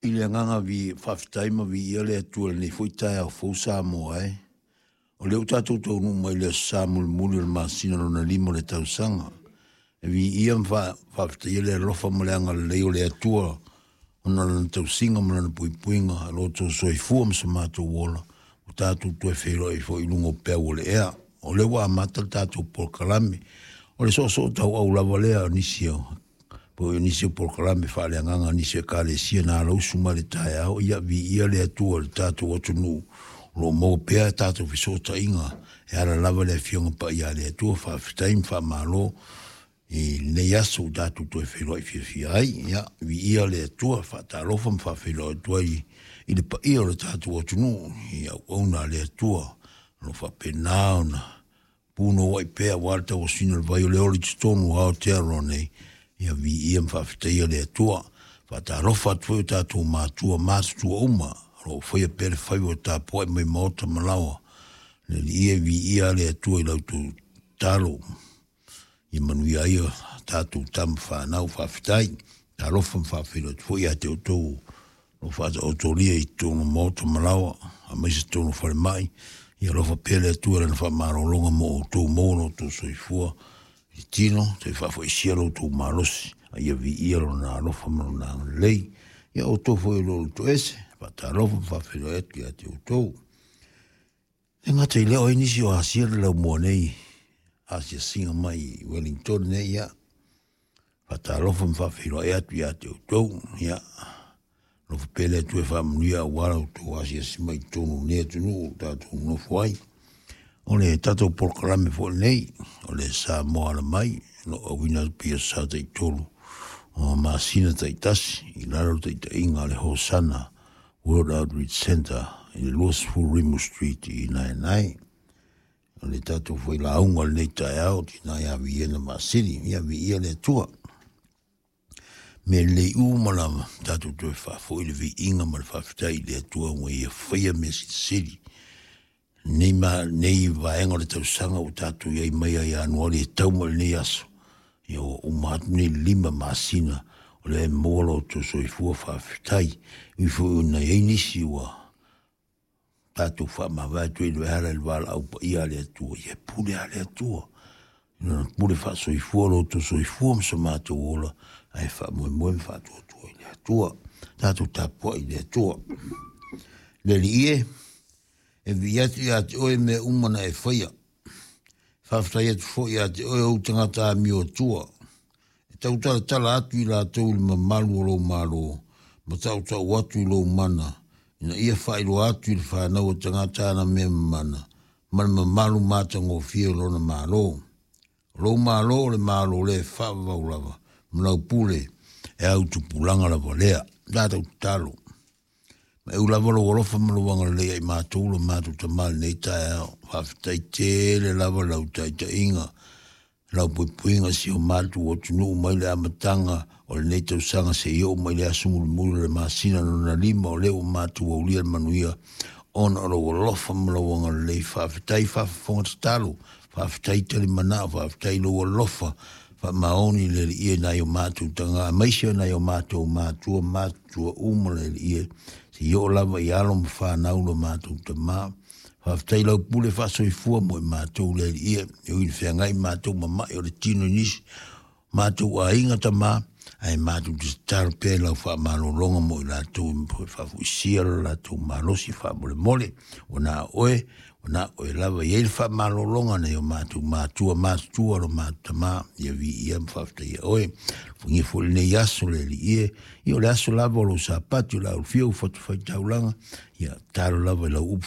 I le agaga faafetai ma viia le Atua i lenei foi taeao fou Samoa e. O lea ua tatou taunuu mai i le aso Sa mulimuli o le masina lona lima o le tausaga. E viia ma faafetaia le alofa ma le agalelei o le Atua ona o lana tausiga ma lana puipuiga, lo outou soifua ma so matou ola, ua tatou toe feiloai foi i luga o peau o le ea. O lea ua amata le tatou polokalame. O le soosoo tauau lava lea o nisi o po o nisi o polokalame faaleagaga a nisi o ekalesia na alausu mai le taeao. Ia viia le Atua i le tatou atunuu o lo o maua pea tatou fesootaiga e ala lava i le Afioga Paia a le Atua. Faafetai ma faamalo i lenei aso ua tatou toe feiloai fiafia ai. Ia viia le Atua, faatalofa ma faafeiloai atu ai i le paia o le tatou atunuu i auauna a le Atua o lo o faapena ona punouai pea aua le tauasuina o le vai o le ola i totonu o Aotearoa nei. Ia viia ma faafetaia le Atua. Faatalofa atu foi o tatou matua matutua uma o lo o faia pea le faiva o tapuai mai maota ma laoa. Le Alii e, viia le Atua i la outou tatalo ia manuia ai o tatou tama fanau. Faafetai. Talofa ma faafeiloai atu foi ia te outou o faataotolia i totonu o maota ma laoa, aemaise totonu o falemai. Ia alofa pea le Atua i lana faamalologa mo outou, maua lo outou soifua i tino, toe faafoisia lo outou malosi, a ia viia lona alofa ma lona agalelei. Ia outou foi o lo o toese, faatalofa ma faafeiloai atu ia te outou. E gata i lea, o ai nisi o asia le laumua nei asiasiga mai i Wellington nei, ia faatalofa ma faafeiloai atu ia te outou. Ia alofa pea le Atua e faamanuia aua la outou asiasi mai i totonu o lenei atunuu o tatou nonofo ai. O le tatou polokalame foi lenei, o le Samoa Ala Mai, o lo o auina atu pei o sa taitolu o masina taitasi i lalo o le taitaiga a le Hosana World Outreach Centre i le 20 Rimu Street i Naenae. O le tatou foi lauga o lenei taeao, tina ia Viena Masili, ia viia le Atua. Mea lelei uma lava, tatou toe faafoi le viiga ma le faafetai i le Atua ua ia faia mea silisili. Nei, ma, nei vaega o le tausaga ua tatou i ai mai ia Ianuari e tau mai lenei aso, ia ua uma atu nei 5 masina o lea e maua lo outou soifua. Faafetai. Ui foi ona i ai nisi ua tatou faamavae atu ai e ala i le valaau paia a le Atua, ia pule a le Atua. Lona pule faasoifua lo outou soifua ma so matou ola, ae faamoemoe ma faatuatua i le Atua. Tatou tapuai i le Atua. Le Alii e, e vii atu ia te oe mea uma na e faia. Faafetai atu foi ia te oe ou tagata amio atua. E tautalatala atu i latou i le mamalu o lou Malo, ma tautau atu i lou mana, ina ia faailoa atu i le fanau a tagata ana mea mamana, ma le mamalu matagofie o lona Malo. O lou Malo o le Malo le faavavau lava, ma lau pule e au tupulaga lava lea. Tatou tatalo. Ma eu lava lou alofa ma lou agalelei ia i matou lo matou Tama i lenei taeao. Faafetai tele lava lau taitaiga, lau puipuiga si o matou atunuu mai le amataga o lenei tausaga seia oo mai le aso mulimuli o le masina lona 5, o lea ua matou aulia le manuia ona o lou alofa ma lou agalelei. Faafetai faafofoga tatalo, faafetai talimanao, faafetai lou alofa faamaoni le Alii e nai o matou taga, aemaise o nai o matou matua matutua uma le Alii e, seia oo lava i alo ma fanau lo matou Tama. Faafetai lau pule faasoifua mo i matou le Alii e, e ui ina feagai matou ma mai o le tino i nisi matou aiga Tama, ae matou te tatalo pea i lau faamalologa mo i latou e faafoisia lo latou malosi faamolemole. Ua na oe, ua na oe lava i ai le faamalologa nai o matou matua matutua lo matou Tama, ia viia ma faafetaia oe. Alofagia foi lenei aso le Alii e, ia o le aso lava o lou Sapati o le a ulufia ua fatafaitaulaga, ia tatalo lava i lau upu